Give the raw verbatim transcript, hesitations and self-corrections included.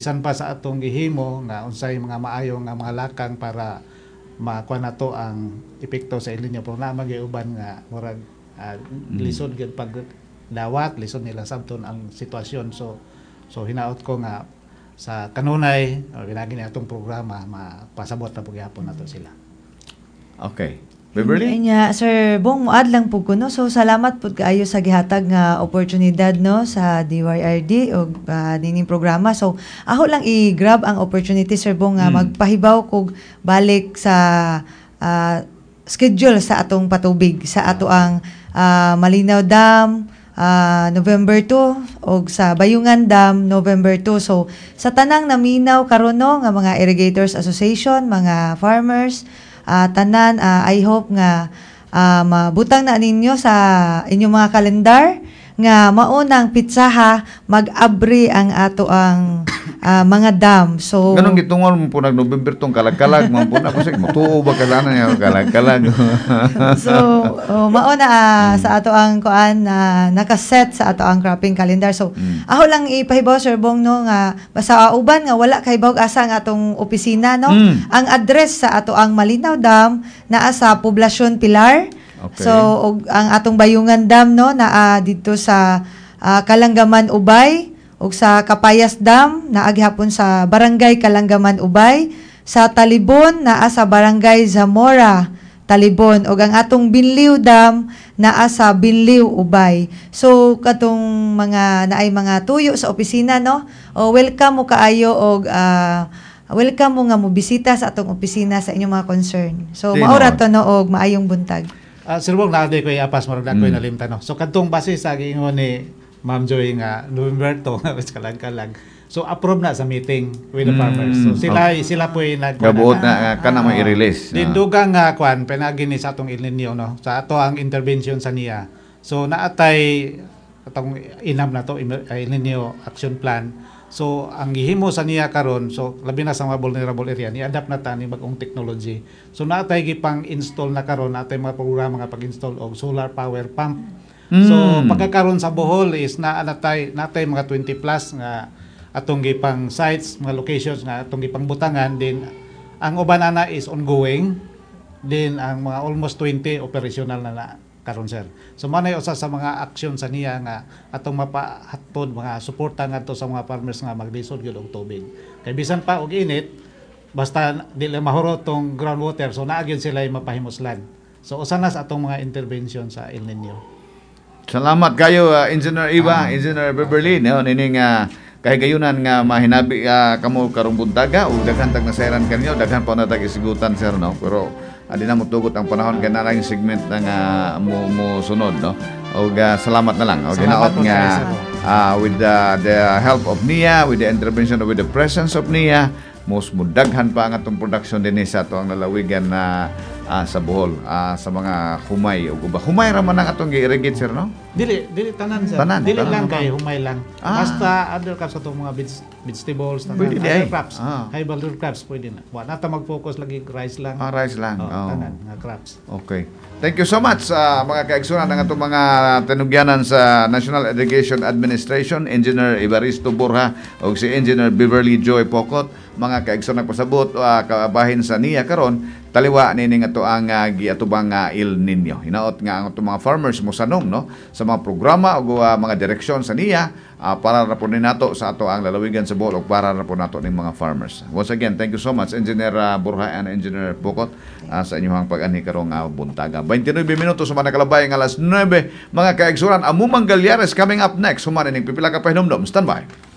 Bisan pa sa atong gihimo nga unsay mga maayo nga mga lakang para makuha nato ang epekto sa El Nino, pero naa man gyud uban nga murag uh, lisod gyud pag dawat, lisod nila sabton ang sitwasyon. So so hinaot ko nga sa kanunay o pinaagi ni atong programa, mapasabot na po gihapon nato sila. Okay. Beverly? Nya, Sir Bong, muad lang pud ko, no. So salamat pud kaayo sa gihatag nga oportunidad, no, sa D Y R D og uh, nining programa. So ako lang i-grab ang opportunity, Sir Bong, nga Mm. magpahibaw kog balik sa ah, schedule sa atong patubig sa ato ang ah, Malinao Dam ah, November two og sa Bayungan Dam November two. So sa tanang naminaw karon, no, nga mga Irrigators Association, mga farmers, ah, tanan, ah, I hope nga ah, mabutang na ninyo sa inyong mga kalendar nga maunang pitsaha mag-abri ang ato ang ah, mga dam. So Ganong gitungol mo po nag November tong kalag-kalag man po na kasi mutuo ba kailangan niya kalag-kalag. So oh, mao na ah, sa ato ang kuan na nakaset sa ato ang cropping calendar. So Mm. ako lang ipahibaw, Sir Bong, no, nga basta uban nga wala kahibaw asa ang atong opisina, no. Mm. Ang address sa ato ang Malinao Dam naa sa Poblasyon Pilar. Okay. So og ang atong Bayungan Dam, no, naa didto sa ah, Kalanggaman Ubay, ug sa Kapayas Dam naa gihapon sa Barangay Kalanggaman Ubay, sa Talibon naa sa Barangay Zamora Talibon, ug ang atong Binliw Dam naa sa Binliw Ubay. So katong mga naay mga tuyo sa opisina, no, o welcome mo kaayo og ah, welcome mo nga mo bisita sa atong opisina sa inyong mga concern. So Di, mao ra no. to, no, og maayong buntag. Ah, Sir Bong, naa ko iapas, murag na ko Mm. nalimtan, no. So kadtong base sa giingon ni Ma'am Joy nga November two nga kalag-kalag. So approve na sa meeting with the Mm, farmers. So sila sila po nag Gabuot na kana mo i-release. Din Ah. dugang nga kwan pinagi ni sa atong El Nino, no, sa ato ang intervention sa niya. So naatay atong inam na to El Nino action plan. So ang gihimo sa niya karon, so labi na sa mga vulnerable area, ni-adapt na ta ni bag-ong technology. So naatay gipang install na karon, naatay mga programa nga pag-install og solar power pump. So Mm. pagkakaron sa Bohol is naa natay natay mga twenty plus nga atong gipang sites, mga locations nga atong gipang butangan. Din ang uban ana is ongoing, din ang mga almost twenty operational na na karon, sir. So mao na usa sa mga aksyon sa niya nga atong mapahatod mga suporta ngadto sa mga farmers nga maglisod gyud og tubig. Kay bisan pa og init, basta di lang mahurot tong groundwater, so naa gyud sila mapahimuslan. So usa na sa atong mga intervention sa El Nino. Salamat kayo, uh, Engineer Iba, Engineer Beverly, no, nining uh, kahigayunan nga mahinabi uh, kamo karong buntaga ug daghan tag nasayran kanyo, daghan pa na tag isigutan, sir, no. Pero adi na motugot ang panahon kay naa segment na nga mo, mo sunod, no. Ug uh, salamat na lang. Og Salamat hinaot po nga kayo, sir. uh, with the, the help of N I A, with the intervention, with the presence of N I A, mas mudaghan pa ang atong production dinhi sa ato ang lalawigan na ah, sa Bohol, ah, sa mga humay ug uba. Humay ra man ang atong gi-irrigate, sir, no? Dili dili tanan, sir. Tanan, dili tanan lang ba? kay humay lang. Ah. Basta other crops, atong mga veg- vegetables, tanan, Pwede di other ay. crops. Ah. High value crops pwede na. Wa na ta mag-focus lagi rice lang. Ah, rice lang. Oh, Oh. tanan nga crops. Okay. Thank you so much sa mga kaigsunan ng atong mga tinugyanan sa National Irrigation Administration, Engineer Evaristo Borja o si Engineer Beverly Joy Pocot. Mga kaigsunan, pasabot uh, kabahin sa niya karon taliwa nining ato ang uh, giatubang nga El Nino. Hinaot nga ang atong mga farmers mosanong, no, sa mga programa o uh, mga direksyon sa niya uh, para ra po ni nato sa ato ang lalawigan sa Bohol ug para ra po nato ning mga farmers. Once again, thank you so much, Engineer uh, Borja and Engineer Pocot, uh, sa inyong pag-anhi karong uh, buntaga. twenty-nine minutos sa mga nakalabay ang alas nuwebe, mga kaigsunan. Amumang Galyares coming up next. Human ining pipila ka pahinumdom. Stand by.